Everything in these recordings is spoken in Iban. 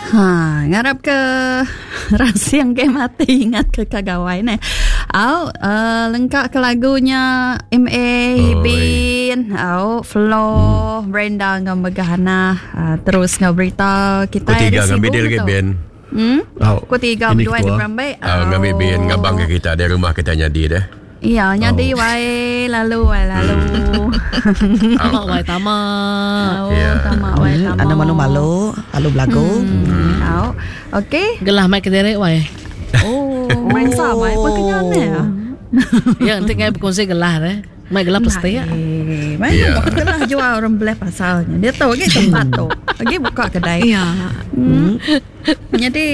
Ha, ngarap ke rasing ke mati ingat ke ka gawai ne. Au, uh, lengka ke lagunya MA Bin, au Flo, hmm. Brenda ngau Megahana uh, terus ngau berita kita Ku tiga ngambi dia lagi Bin. Hmm? Au. Ku tiga berdua di berambai. Au ngambi Bin ngabang ke kita di rumah kita nyadi deh. Iya, nyadi oh. wai lalu wai lalu. Tama wai tama. Oh, yeah. tama wai tama. Anda malu-malu, lalu belagu. Hmm. Hmm. Okey. Gelah mai kediri wai. Oh, main sama oh. apa kenyan ne. Ya, nanti ngai berkongsi gelah deh. Mai gelah pasti ya. Mai yeah. gelah jual orang belah pasalnya. Dia tahu lagi tempat tu. Lagi buka kedai. Ya. Hmm. Jadi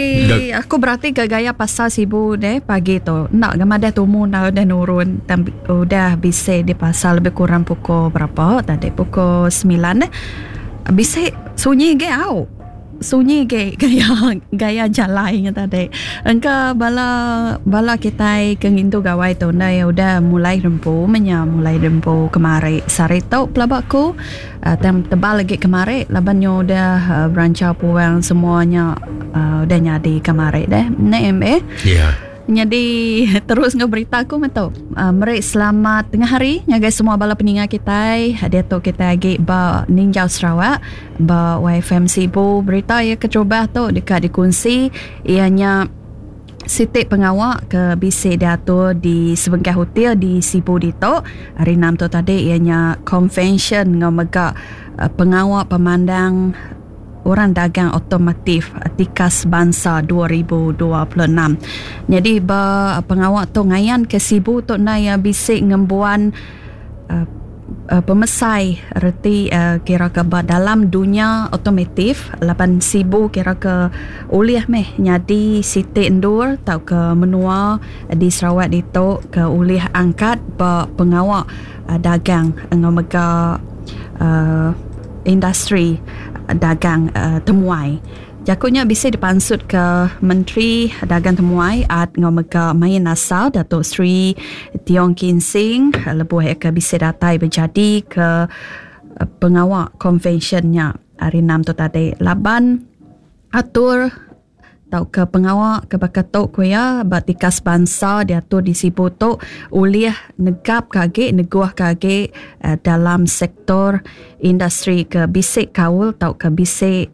aku berarti ke gaya pasar Sibu deh pagi tu. Enda ga madah tumu enda udah nurun tang udah bisi di pasar lebih kurang pukul berapa tadi pukul 9 deh. Bisi sunyi ge au. Sunyi ge gaya gaya jalai nya tadi. Engka bala bala kitai ke ngintu gawai tu enda iya udah mulai rempu meh nya mulai rempu kemari sehari tu pelaba ku. Tang tebal agi kemari laban nyu udah beranchau puang semua nya udah nyadi kemari deh. Ne MA. Ya. Nyadi terus enggau berita aku meh tu. Meri selamat tengah hari ngagai semua bala peninga kitai. Diatu kitai agi ba Ninjau Sarawak ba YFM Sibu. Berita iya keterubah tu deka dikunsi iya nya Siti pengawa ke bisi diatur di sebengkah hotel di Sibu ditu hari Enam tu tadi iya nya konvensyen enggau mega pengawa pemandang orang dagang automotif tikas bansa 2026. Nyadi ba pengawa tu ngayanka Sibu tu endang iya bisi ngembuan Pemesai reti kira ke ba dalam dunya automotif laban Sibu kira ke ulih meh nyadi siti endur tauka menua di Sarawak ditu ke ulih angkat ba pengawa dagang enggau mega uhh industri dagang temuai. Jaku nya bisi dipansutka Menteri Dagang Temuai, Art enggau Mega Main Asal Dato Sri Tiong Kin Sing lebuh iya ke bisi datai bejadika pengawa konvensyen nya hari Enam tu tadi laban atur tauka pengawa ke baka tu ku iya ba tikas bansa diatur di Sibu tu ulih negapka agi neguhka agi dalam sektor industri ke bisi kaul tauka bisi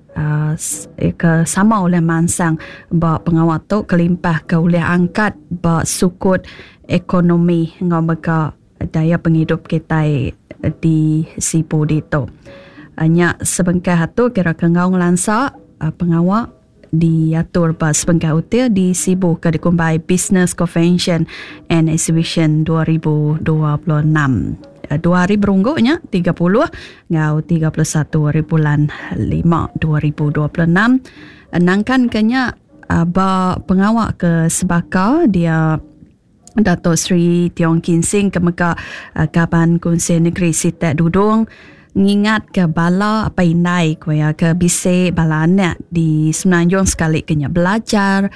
ke sama ulih mansang ba pengawa tu kelimpah ke ulih angkat ba sukut ekonomi enggau mega daya pengidup kitai di Sibu ditu. Nya sebengkah atur kira ke enggau ngelansa pengawa diatur ba sebengkah hotel di Sibu ke dikumbai Business Convention and Exhibition 2026. Dua hari berunggu nya 30 enggau 31 hari bulan 5 2026. Nangkan ke nya ba pengawa ke sebaka dia Dato Sri Tiong Kin Sing ke mega Kaban Kunsil Negeri Sitak Dudong ngingatka bala apai indai ku iya ke bisi bala anak di Semenanjung sekali ke nya belajar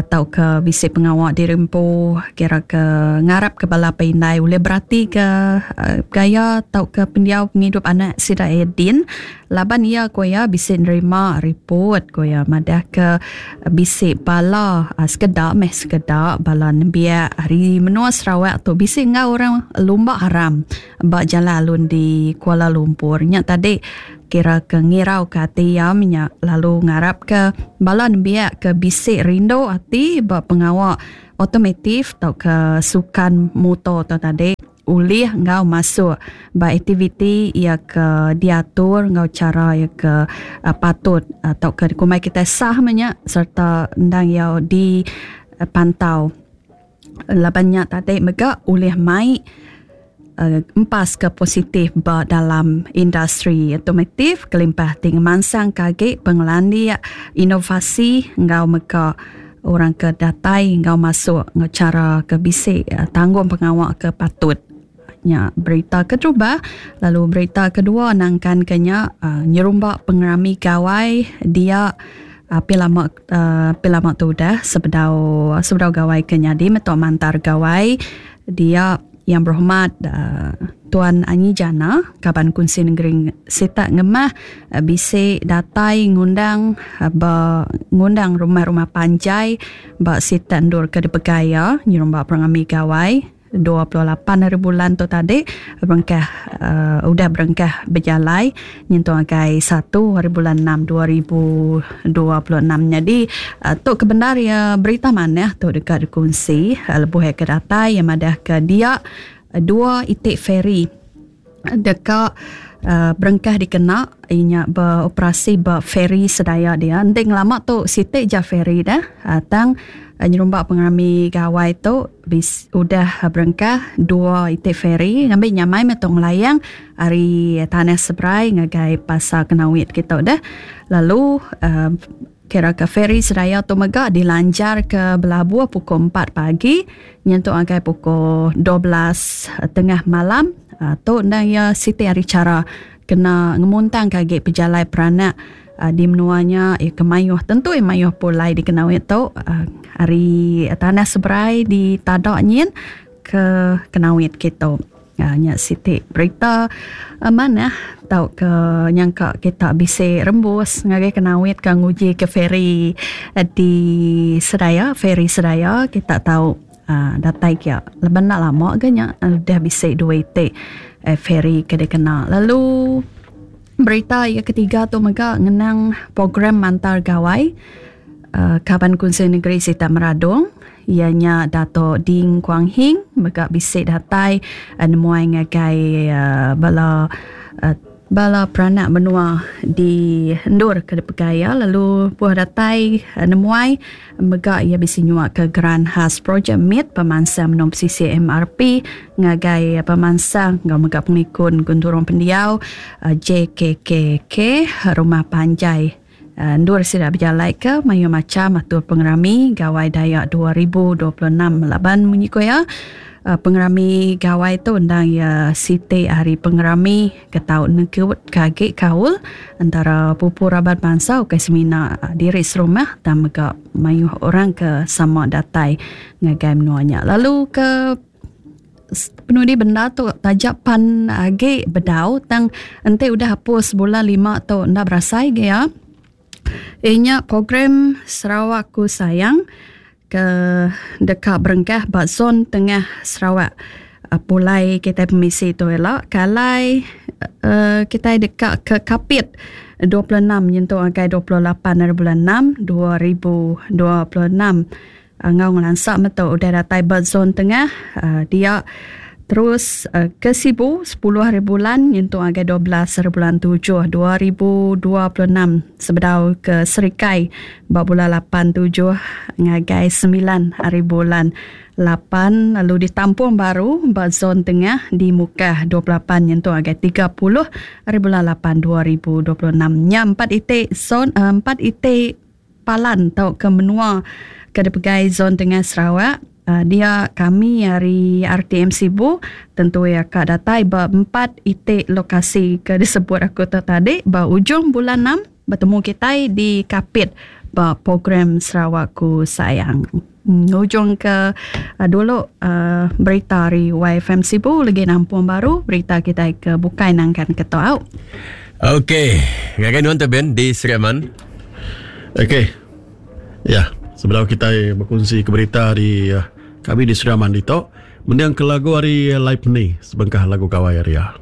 tauka bisi pengawa diri empu kira ke ngarapka bala apai indai ulih beratika gaya tauka pendiau pengidup anak sida iya din. Laban iya ku iya bisi nerima riput ku iya madahka bisi bala sekeda meh sekeda bala nembiak ari menua Sarawak tu bisi enggau orang lumba haram ba jalai alun di Kuala Lumpur. Nya tadi kira ke ngirauka ati iya meh nya lalu ngarapka bala nembiak ke bisi rindu ati ba pengawa automotif tauka sukan muto tu tadi. Ulih enggau masuk ba aktiviti iya ke diatur enggau chara iya ke patut tauka dikumbai kitai sah meh nya sereta endang iya dipantau. Laban nya tadi mega ulih mai empas ke positif ba dalam industri automotif kelimpah ti ngemansangka agi pengelandik inovasi enggau mega Orang ke datai enggau masuk enggau chara ke bisi tanggung pengawa ke patut. Nya berita keterubah lalu berita kedua nangkanka nya nyerumba pengerami gawai dia api lama api lama tu udah sebedau sebedau gawai ke nyadi meto mantar gawai dia. Yang Berhormat uh, Tuan Anyi Jana, Kaban Kunsi Negeri Sitak Ngemah uh, bisi datai ngundang uh, ba ngundang rumah-rumah panjai ba sitak endur ke dipegai iya nyerumba pengerami gawai 28 hari bulan tu tadi berengkah uh, udah berengkah bejalai nyentuk ngagai 1 hari bulan 6 2026. Nyadi uh, tu kebendar ya berita manah tu deka dikunsi uh, lebuh ke datai yang madah ke dia dua iti feri deka uh, berengkah dikena inya beroperasi ba feri sedaya dia. Enti ngelama tu siti ja feri dah uh, tang uh, nyerumba pengerami gawai tu bis, udah berengkah dua iti feri ngambi nyamai meh tu ngelayang ari tanah seberai ngagai pasar Kenawit kita dah. Lalu uh, kira ke feri sedaya tu mega dilanjar ke belabuh pukul 4 pagi nyentuk ngagai pukul 12 tengah malam. Uh, tu endang iya siti ari chara kena ngemuntang ke agi pejalai peranak uh, di menua nya ya ke mayuh tentu ya mayuh pulai di Kenawit tu uh, ari tanah seberai di Tadak nyin ke Kenawit kitu. Uh, nya siti berita uh, manah tau ke nyangka kita bisi rembus ngagai Kenawit ke nguji ke feri uh, di Sedaya, feri Sedaya kita tau uh, datai kia. Laban enda lama ke nya udah bisi dua iti uh, feri ke dikena. Lalu berita yang ketiga tu mega ngenang program Mantar Gawai uh, Kaban Kunsil Negeri Sitak Meradong ianya Dato Ding Kuang Hing mega bisi datai uh, nemuai ngagai uh, bala uh, bala peranak menua di endur ke dipegai iya. Lalu puh datai uh, nemuai mega ia bisi nyuak ke Geran Khas Projek Mit Pemansang Menua Pesisir MRP ngagai pemansang enggau mega pengikun Genturung Pendiau uh, JKKK Rumah Panjai endur sida bejalai ke mayuh macam atur pengerami Gawai Dayak 2026. Laban munyi ko iya pengerami Gawai tu endang iya siti hari pengerami ke tau nekut ke agi kaul antara pupu raban bansa ukai semina diri serumah tang mega mayuh orang ke sama datai ngagai menua nya. Lalu ke penudi benda tu taja pan agi bedau tang enti udah hapus bulan 5 tu enda berasai ge ya. Inya program Sarawak Ku Sayang ke deka berengkah ba zon tengah Sarawak pulai kita pemisi tu ela kalai uh, kita deka ke Kapit 26 nyentuk ngagai 28 hari bulan 6 2026. Enggau ngelansa metu udah datai ba zon tengah uh, dia terus uh, ke Sibu 10 hari bulan nyentuk ngagai 12 hari bulan 7 2026 sebedau ke Serikai ba bulan 8 7 ngagai 9 hari bulan 8 lalu ditampung baru ba zon tengah di Mukah 28 nyentuk ngagai 30 hari bulan 8 2026. Nya 4 iti zon 4 iti palan tau ke menua ke dipegai zon tengah Sarawak. Uh, dia kami hari RTM Sibu tentu ya ka datai ba 4 iti lokasi ke disebut aku tu tadi ba ujung bulan 6 bertemu kita di Kapit ba program Sarawak Ku Sayang. Ujung ke uh, dulu uh, berita hari YFM Sibu lagi nampung baru berita kita ke bukai nangkan ketua. Okey, ngagai nuan tu Ben di Sri Aman. Okey. Ya, sebelum kita berkongsi ke berita di kami di Sri Aman itu, mending ke lagu hari Live ni sebengkah lagu gawai hari ya.